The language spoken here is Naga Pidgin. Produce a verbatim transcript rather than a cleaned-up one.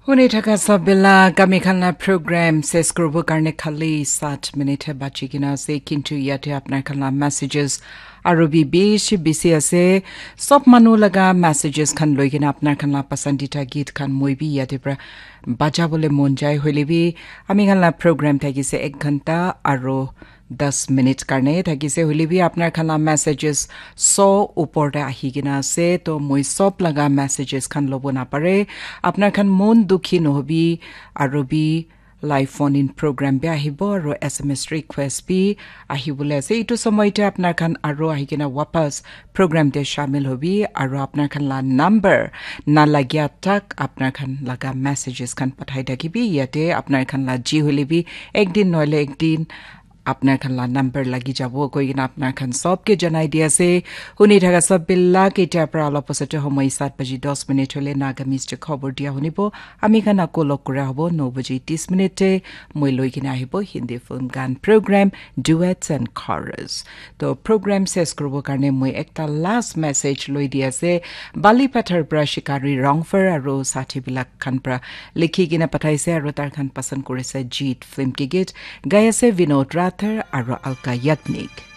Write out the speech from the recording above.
Huni thaka sab bila kami khan la program ses kuribo karne khali sat minute he bachi kena ase, kintu yate apnar khan la messages aru bi bishi bisi ase. Sob manu laga messages khan loi kena apnar khan la pasandita geet khan moi bi yate pra baja bole mon jai, hoile bi ami khan la program thakise ek ghanta aru das minute karne thakise, hoile bi apnar khan la messages so upor te ahi kena ase, to moi sob laga messages khan lobo napare. Apnar khan mon dukhi nohobi, aru bi live phone in program bi ahibo aru S M S request bi ahibole ase. Itu somoy te apnar khan aru ahi kena wapas program te shamil hobi aru apnar khan la number na lagya tak apnar khan laga messages khan pathai thakibi. Yate apnar khan la ji hoile bi ek din noile ek din apnar khan la number lagi jabo koi kena apnar khan sob ke janai di ase. Huni thaka sob bila ke etia pra olop osate homoi sat baji dos minute hole Nagamese te khobor dia hunibo. Ami khan ako log kura hobo no baji tis minute te. Moi loi kena ahibo Hindi film gan program, duets and chorus. To program ses kuribo karne moi ekta last message loi di ase. Bali Pathar pra Shikari Rongfer aru sathi bilak khan pra likhi kena pathaise aru tar khan pasand kurise Jeet film ke geet. Gai ase Vinod Rathar aru Alka Yagnik.